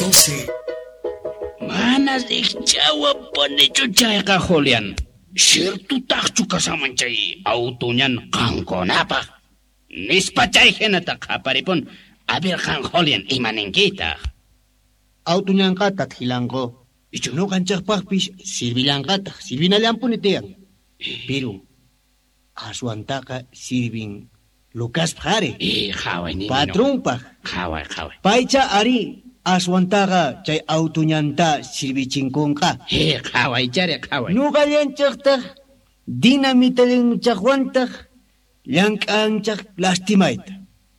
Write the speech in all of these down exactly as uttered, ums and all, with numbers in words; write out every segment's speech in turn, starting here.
Doce. Mana rikchawapunichu chayqa, Julián. Ciertutaqchu kashaman chay autuñan qankunapaq. Nispa chay hinata qaparipun. A ver qan, Julián, imaninkitaq? Autuñanqata t'ilanqu. Ichu nuqanchaqpaqpis sirvillanqataq, sirvinallampuni tiyan. Pero aswantaqa sirvin Lucaspaq ari. Eh, qhaway nini. Patronpaq. Qhaway, qhaway. Paycha ari aswantaqa chay autuñanta sirvichinkunqa. Eh, qhaway chari, qhaway. Nuqallanchaqtaq dinamitallanchaqwantaq llank'anchaq lastimayta.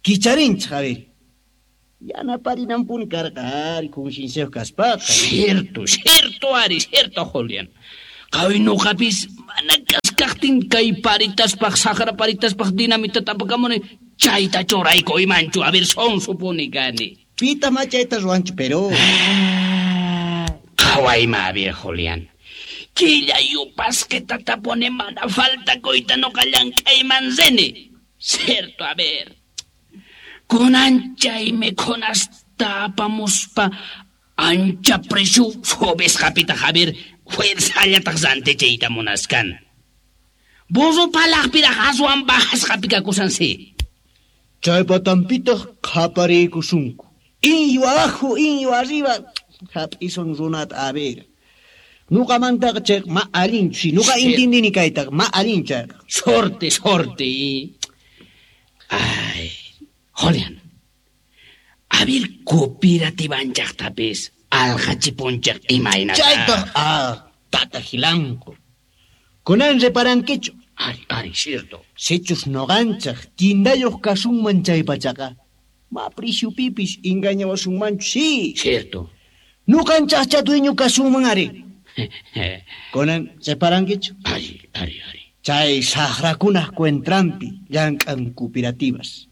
Kicharinchaq, a ver. Yanaparinampuni karqa ari concienciayuq kaspaqa. Cierto, cierto ari, cierto, Julián. Qhaway nuqapis mana kaskaqtin kay paritaspaq, saqra paritaspaq dinamita tapakamuni chayta churayku imanchu, a ver, sonsupuni kani. Pita ma chayta ruwanchu, pero... Qhaway ma, a ver, Julián. Killa yupasqita tapuni mana faltakuyta nuqa llank'ayman rini. Cierto, a ver. Kunan chay mikhunasta apamuspa ancha precio subisqapitaq, a ver, fuerzallataq rantichiyta munaskan. Burro palaqpiraq aswan bajasqapi kakusan si. Chay patampitaq qhapariykusunku. Inyu abajo, inyu arriba. Hap'isun runata, a ver. Nuqamantaqa chayqa ma allinchu, si nuqa intindini kaytaqa ma allinchu chayqa. Sorte, sorte. Ay, Julián. A ver, cooperativanchaqtapis alqachipunchaq imaynata. Chaytaq, ah, tata Gilanqu. Kunan reparankichu. Ari, ari, cierto. Sichus nuqanchaq tindayuq kasunman chaypachaqa, ma preciopipis engañawasunmanchu, sí. Cierto. Nuqanchaqcha dueño kasunman ari. Kunan reparankichu. Ari, ari, ari. Chay saqrakunaq cuentrampi llank'an cooperativas.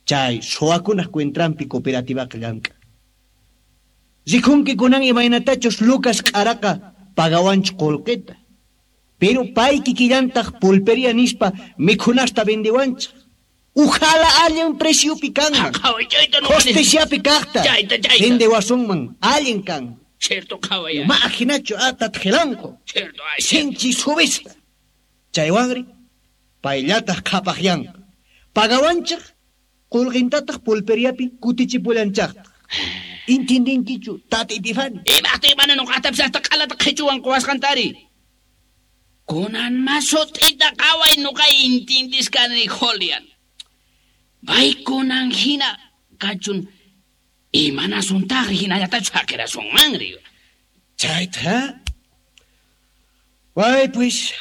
Chay suwakunaq cuentrampi cooperativaqa llank'an. Rikunki kunan imaynatachus Lucas q'araqa pagawanchu qullqita. Pero pay kikillantaq pulpería nispa mikhunasta vendewanchaq. Ujala allin preciopi kanman. Qhaway chayta nuqa Justiciapi kaqta. Chayta, chayta. Vendewasunman allin kan. Cierto, qhaway. Ma ajinachu atat qilanqu. Cierto, ay, Sinchi subisqa. Chaywanri payllataq qhapaqyanqa. Pagawanchaq qullqintataq pulperiapi kutichipullanchaqtaq. Intindinkichu, tata Epifani? Imaqtay mana nuqatapis hasta q'alata qhichuwan quwasqantari. Kunan ma sut'ita qhaway nuqa intindisqani, Julián. Pay kunan hina kachun imanasuntaqri hinallatachu haqirasunmanri. Chayta, Way pues,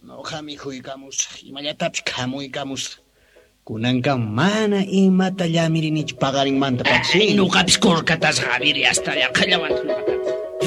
nuqa mikhuykamusaq, imallatapis khamuykamusaq. Kunanqa mana imata llamirinichu paqarinmanta pachi. Nuqapis kurkatasqa, a ver, hasta llaqallawanta nuqatapis.